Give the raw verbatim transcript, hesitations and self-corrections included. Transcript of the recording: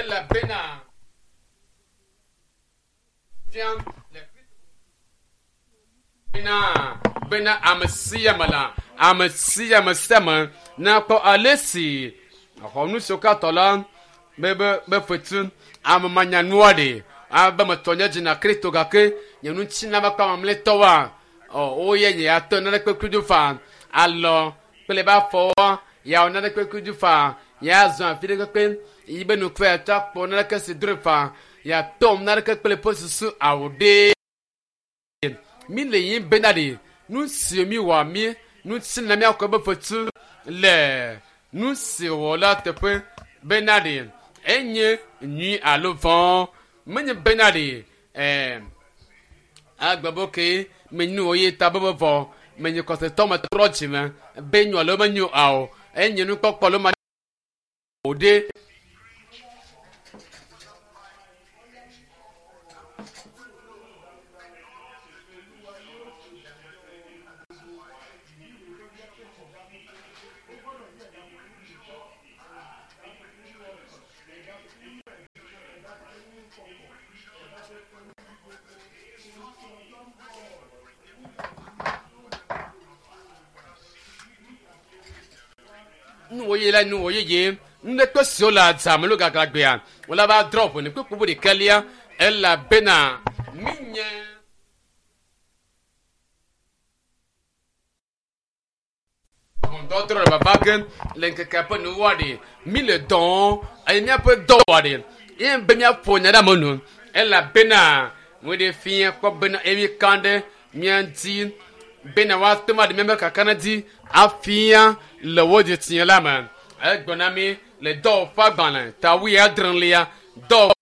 Elabena fia le bena bena ame sia ame la ame sia ame sia ame nakpɔ ale si xɔ nu siwo katã la be be be fetu ame manyanua ɖe abe metɔ nye dzina Kristo gake nye ŋuti na be kpɔ mamlɛtɔwoa ɔ woye nye ya tɔ nane kpekpe do fa alɔ kple be afɔwoa ya nane kpekpe do fa ya zɔ afi ɖe kpekpe yi be nukpe ya tɔ akpɔ naneke si dro fa ya tɔ naneke kple ƒe susu awu ɖe mi le yim bena ɖe nu si mi wɔ mi nu si na miakɔ be fetu le nu si wɔ la teƒe bena ɖe enye nyui alo vɔ̃ menye bena ɖe ɛɛ agbebo ke menyu wo ye ta be vɔ menye kɔsetɔ me trɔ dzime be nyo alo menyo ao enye nukpɔkpɔ lo ma o ɖe. Nuwo ye la nuwo yeye nuɖekpe siwo le adzame lo gaglagbea wòle va drɔ ʋɔnu kpekpe ɖekalia elabena mi nye ʋɔnudɔdrɔ̃ le vava ge le ŋkekea ƒe nuwua ɖe mi le dɔn eye míaƒe dɔwɔa ɖe ye be míaƒo nya ɖe ame nu elabena wo ɖe fia kpɔ bena eye mi kan ɖe mía ŋuti bena woate ŋu aɖe míaƒe kakana dzi afia le wo dzitsinya la me. Egblɔ na mi le dɔwɔƒe agbalẽ ta wuiadrelia dɔwɔƒe.